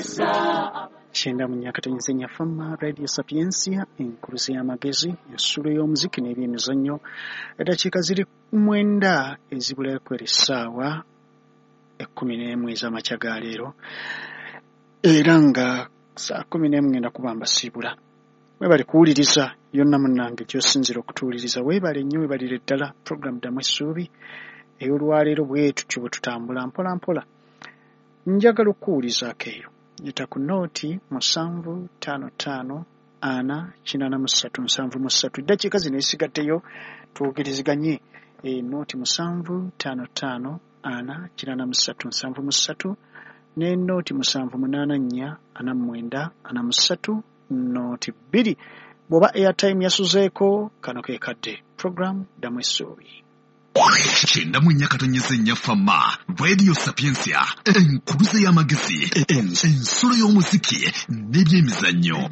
94.4 Fama Radio Sapientia, enkuluze y'amagezi, ensulo y'omuziki n'ebyemizannyo. Eddakiika ziri 9 ezibulayo kwera essaawa 11 ez'amakya ga leero, era nga saa 11 ngenda kuba mbasiibula. Mwebale kuwuliriza yonna munnange gy'osinziira okutuwuliriza, weebale nnyo, weebalire ddala. Program Ddamu Essuubi ey'olwaleero bwe tutyo bwe tutambula mpola mpola. Njagala okukuwulizaako eyo. Yita ku nooti 7 5 5 4 83 73. Eddakiika zino ezisigaddeyo twogerezeganye. Nooti 7 5 5 4 83 73 ne nooti 7 8 4 49 43 nooti 2. Bw'oba airtime yasuzeeko, kano ke kadde. Program Ddamu Essuubi. 94.4 Fama Radio Sapientia, enkuluze y'amagezi, ensulo y'omuziki n'ebyemizannyo.